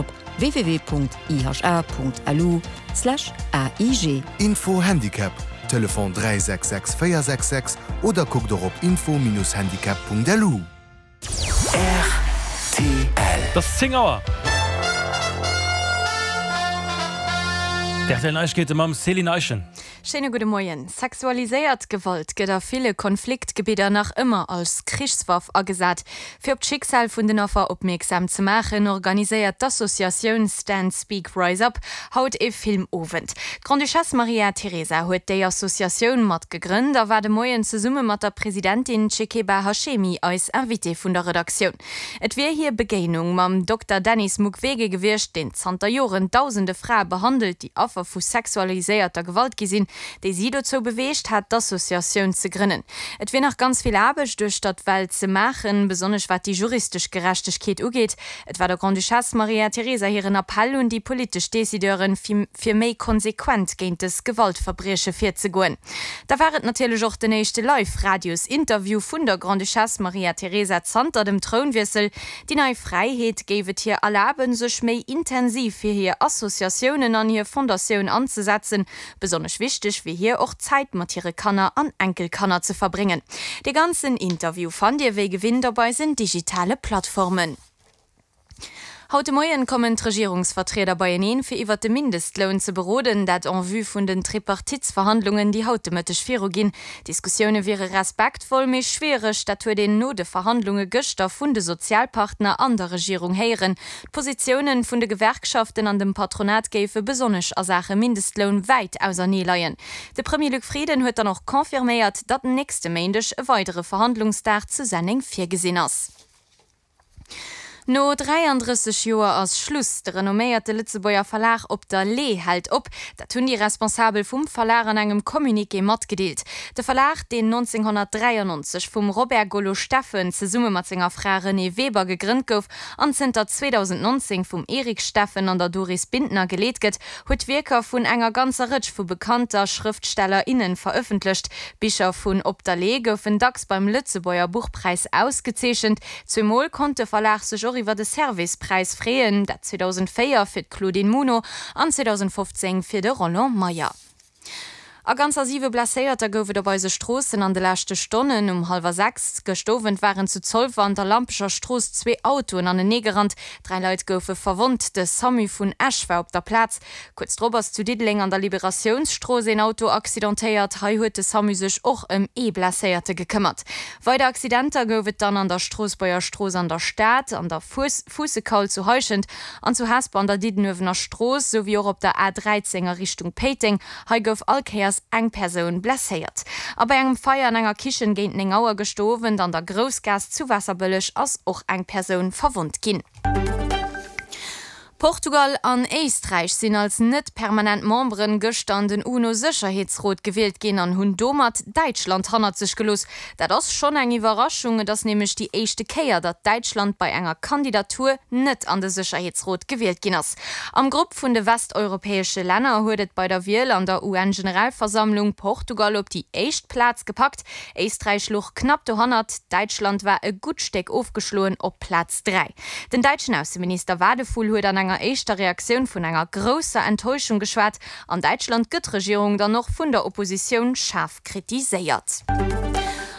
op www.iha.lu/aig. Info Handicap, Telefon 366 466 oder kuckt och op info-handicap.lu. Rtl. Et ass 10 Auer. D'RTL Neiegkeete mam Céline Eischen. Schéine gudde Moien. Sexualiséiert Gewalt gëtt a ville Konfliktgebidder nach ëmmer als Krichswaff agesat. Fir op d'Schicksal vun den Affer opmierksam ze maachen, organiséiert d'Associatioun Stand Speak Rise Up haut ee Filmowend. D'Grande-Duchesse Maria Teresa huet déi Associatioun mat gegrënnt a war de Moien zesumme mat der Presidentin Chekeba Hashemi eis Invitée vun der Redaktioun. Et wier hir Begéinung mam Dokter Denis Mukwege gewiescht, deen zanter Joren dausende Frae behandelt, déi Affer vu sexualiséierter Gewalt gi sinn, déi si dozou beweegt hat, d'Associatioun ze grënnen. Et wier nach ganz vill Aarbecht uechter d'Welt ze maachen, besonnesch wat déi juristesch Gerechtegkeet ugeet. Et war der Grande-Duchesse Maria Teresa hiren Appell un déi politesch Decideuren, fir méi konsequent géint dës Gewaltverbrieche virzegoen. Da war et natierlech och den éischte Live-Radios-Interview vun der Grande-Duchesse Maria Teresa zanter dem Trounwiessel. Déi nei Fräiheet géif et hir erlaben, sech méi intensiv fir hir Associatiounen an hir Fondatioun anzesetzen. Besonnesch wichteg wier hir och Zäit mat hire Kanner an Enkelkanner ze verbréngen. De ganzen Interview fannt Dir wéi gewinnt op eisen digitale Plattformen. Haut de Moien kommen d'Regierungsvertrieder beieneen, fir iwwert de Mindestloun ze beroden. Dat en vue vun den Tripartitsverhandlungen, déi haut de Mëtteg viruginn. D'Diskussioune wiere respektvoll, mee schwiereg. Dat huet een no de Verhandlunge gëschter vun de Sozialpartner an der Regierung héieren. D'Positiounen vun de Gewerkschaften an dem Patronat géife besonnesch a Saache Mindestloun wäit ausernee leien. De Premier Luc Frieden huet dann och confirméiert, datt nächste Méindeg e weidere Verhandlungsdag zu Senneng virgesinn ass. No 33 Joer ass Schluss, De renomméierte Lëtzebuerger Verlag Op der Lee hält op. Dat hunn déi Responsabel vum Verlag an engem Communiqué matgedeelt. De Verlag, deen 1993 vum Robert Gollo-Steffen zesumme mat senger Fra Renée Weber gegrënnt gouf an zënter 2019 vum Eric Steffen an der Doris Bintner geleet gëtt, huet Wierker vun enger ganzer Rëtsch vu bekannter Schrëftsteller, innen verëffentlecht. Bicher vun Op der Lee goufen dacks beim Lëtzebuerger Buchpräis ausgezeechent. Zweemol konnt de Verlag sech och iwwer e Servais-Präis freeën, dat 2004 fir d'Claudine Muno an 2015 fir de Roland Meyer. A ganzer siwe Blesséierter gouf et op eise Stroossen an de leschte Stonnen. Um hallwer 6 gëscht Owend waren zu Zolwer an der Lampecher Strooss zwee Autoen aneneegerannt. Dräi Leit goufe verwonnt. De Samu vun Esch war op der Plaz. Kuerz drop ass zu Diddeleng an der Liberatiounsstrooss een Auto accidentéiert. Hei huet de Samu sech och ëm ee Blesséierte gekëmmert. Weider Accidenter gouf et dann an der Stroossbuerger Strooss an der Stad, an der Fuussekaul zu Heischent an zu Hesper an der Diddenuewener Strooss, sou wéi och op der A 13 a Richtung Péiteng. Hei gouf all Kéiers eng Persoun blesséiert. A bei engem Feier an enger Kichen géint 9 Auer gëschter Owend an der Groussgaass zu Waasserbëlleg ass och eng Persoun verwonnt ginn. Portugal an Éisträich sinn als net permanent Memberen gëschter an den UNO-Sécherheetsrot gewielt ginn an hunn domat Däitschland hannert sech gelooss. Dat ass schonn eng Iwwerraschung, et ass nämlech déi éischte Kéier, datt Däitschland bei enger Kandidatur net an de Sécherheetsrot gewielt ginn ass. Am Grupp vun de westeuropäesche Länner huet et bei der Wiel an der UN-Generalversammlung Portugal op déi éischt Plaz gepackt. Éisträich louch knapp dohannert, Däitschland war e gutt Stéck ofgeschloen op Plaz 3. Den däitschen Ausseminister Wadephul huet an enger éischter Reaktioun vun enger grousser Enttäuschung geschwat. An Däitschland gëtt d'Regierung dann och vun der Oppositioun schaarf kritiséiert.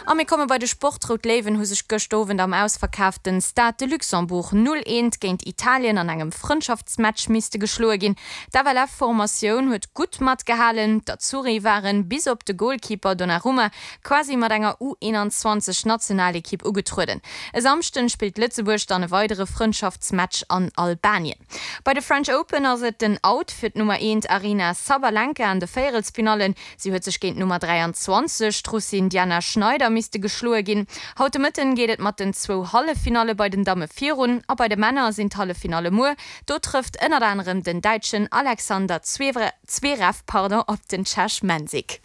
A mir komme bei de Sport, D'Rout Léiwen hu sech gëscht Owend am ausverkaaften Stade de Luxembourg 0, 1 géint Italien an engem Frëndschaftsmatch misste geschloe ginn. D'FLF-Formatioun huet gutt matgehalen, d'Azzurri waren bis op de Goalkeeper Donnarumma quasi mat enger U 21 Nationalekipp ugetrueden. E Samschden spillt Lëtzebuerg dann e weidere Frëndschaftsmatch an Albanien. Bei de French Open ass et den Out fir d'Nummer eent Aryna Sabalenka an de Véierelsfinallen. Si huet sech géint d'Nummer 23, d'Russin Diana Schneider, misste geschloe ginn. Haut de Mëtten geet et mat den zwou Halleffinalle bei den Damme virun a bei de Männer sinn d'Halleffinalle muer. Do trëfft ënnert anerem den Däitschen Alexander Zverev. Zverev, pardon, op den Czech Mensik.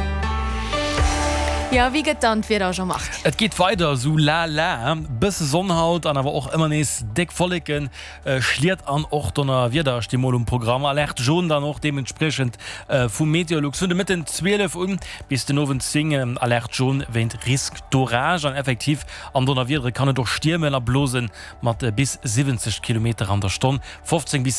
Jo, wéi gëtt dann d'Wieder, Jean-Marc? Et geet weider esou la la, bësse Sonn haut an awer och ëmmer nees déck Wolleken, Schliet an och Donnerwieder sti mol um Programm. Alerte jaune dann och deementspriechend vu Meteolux vun de Mëtten 12 un bis den Owend 10, Alerte jaune wéint Risque d'orage. An effektiv an Donnerwiedere kann et och stiermen a blose mat bis 70 Kilometer an der Stonn, 15 bis.